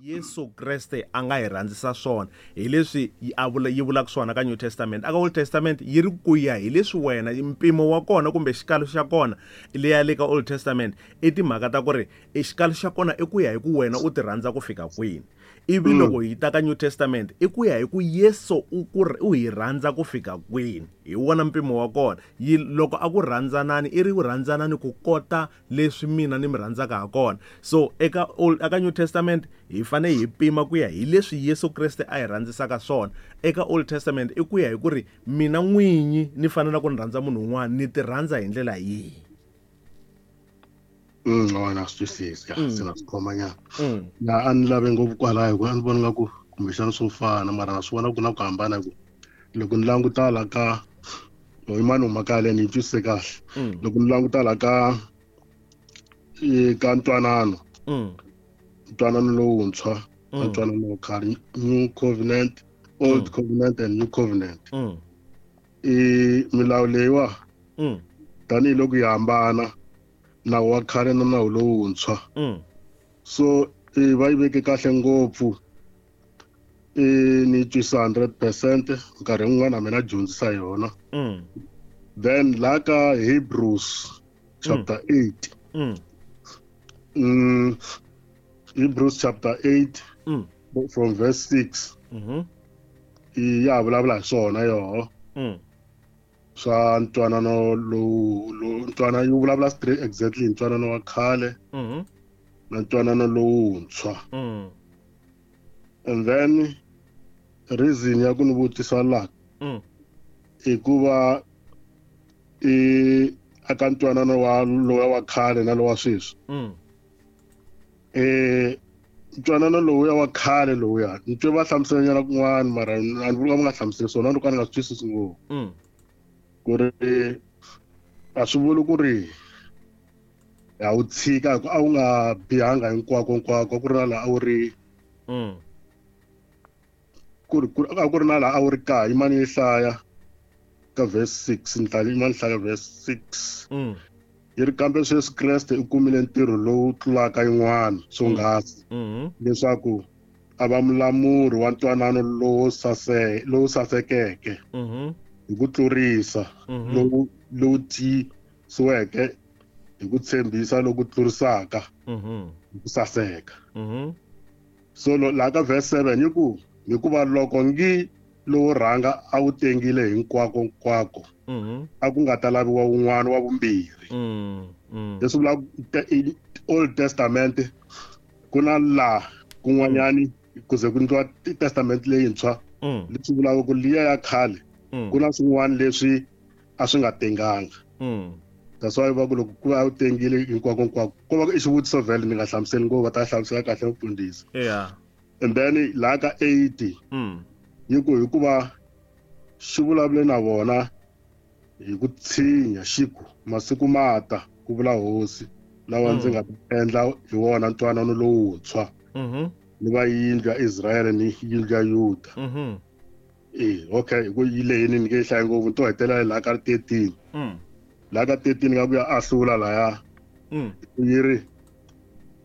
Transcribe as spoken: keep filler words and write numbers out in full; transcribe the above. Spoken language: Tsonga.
Yesu Kreste a nga hi rhandzisa swona hi leswi yi a vula yi vulaka swona ka New Testament. Aka Old Testament yi ri ku ya hi leswi wena mpimo wa kona kumbe xikalo xa kona leya le ka Old Testament i timhaka ta ku ri i xikalo xa kona i ku ya hi ku wena u ti rhandza ku fika kwini. Ivi loko hi ta ka New Testament i ku ya hi ku Yesu u ku u hi rhandza ku fika kwini, hi wona mpimo wa kona. Yi loko a ku rhandzanani i ri ku rhandzanani ku kota leswi mina ni mi rhandzaka ha kona. So eka Old eka New Testament hi fanele hi pima ku ya hi leswi Yesu Kreste a hi rhandzisaka swona. Eka Old Testament i ku ya hi ku ri mina n'winyi ni fanele ku ni rhandza munhu un'wana ni ti rhandza hi ndlela yihi. Mm, wona swi twisisi ya se na swi khomanyana. Mm. Ya a ni lave ngopfu kwalaho hikuva a ni vona nga ku kumbexana swo fana mara na swi vona ku na ku hambana hi ku loko ni languta la ka yimani huma leyi ni yi twisise kahle. Mm. Loko ni languta la ka i ka ntwanano Mm. ntwanano lowuntshwa na Mm. ntwanano wa khale, New Covenant, Old Covenant and New Covenant. Mm. I milawu leyiwa Mm. tanihiloko yi hambana nawu wa khale na nawu lowuntshwa. Mm. So i va yi veke kahle ngopfu, i ni twisisa hundred percent nkarhi wun'wana mina dyondzisa yona. Mm. Then la ka Hebrews chapter eight. Mm. Mm, Hebrews chapter eight Mm. from verse six. Mhm. I ya vulavula hi swona yoho. Mm. Swa ntwanano lowu lowu ntwanano yi vulavula straight exactly ntwanano wa khale Mhm. na ntwanano lowuntshwa. Mm. And then reason ya ku ni vutisa la Mm. i ku va i aka ntwanano wa lowa wa khale na lowa sweswi. Mm. Eh ntwanano lowuya wa khale lowuya ni twe va hlamusela nyana kun'wana mara a ni vuli ka va nga hlamuseli swona loko a ni nga swi twisisi ngopfu. Mm. Ku ri a swi vuli ku ri a wu tshika hi ku a wu nga bihanga hinkwako hinkwako ku ri na laha a wu ri Mm. ku ri ku a ku ri na laha a wu ri kaya yimani yi hlaya ka verse six ni ta yimani hlaya verse six. Mm. Yi ri kambe sweswi Kreste u kumile ntirho lowu tlulaka yin'wana swonghasi Mhm. leswaku a va mulamuri wa ntwanano lowu sase lowu sasekeke Mhm. hi ku tlurisa Mhm. lowu lowu tiyisiweke hi ku tshembisa loku tlurisaka Mhm. hi ku saseka. Mhm. So lo laha ka verse seven yi ku hikuva loko ngi lowo rhanga a wu tengile hinkwako hinkwako Mhm. a ku nga ta laviwa wun'wana wa vumbirhi. Mm. Mm. Leswi vulaka te-, Old Testament ku na laha kun'wanyani ku ze ku endliwa Testament leyintshwa Mm. leswi vulaka ku liya ya khale Mm. ku na swin'wana leswi a swi nga tenganga. Mm. That's why va ku loko ku va u tengile hinkwako hinkwako ko va ku i xivutiso vhele ni nga hlamuseli ngopfu va ta hlamusela kahle mufundhisi. Yeah. And then laha ka eight Mm. yi ku hikuva xi vulavule na vona hi ku tshinya xi ku masiku ma ta ku vula hosi lawa ndzi nga ta endla hi wona ntwanano lowuntshwa Mhm. ni va yindlu ya Israyele ni yindlu ya Yuda. Mhm. Eh, okay, hi ku yi lehini ni nge yi hlayi ngopfu ni to hetelela laha ka thirteen. Mm. Laha ka thirteen nga ku ya ahlula laya. Mm. Yi ri